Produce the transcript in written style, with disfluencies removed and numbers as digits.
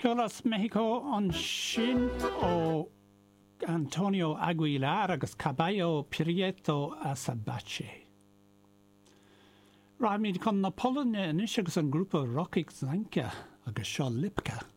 Ceol as Meicsiceo ansin ó Antonio Aguilar agus Caballo Prieto Azabache. Rachaimid chun na Polainne anois agus an grúpa Rokycana agus seo Lipka.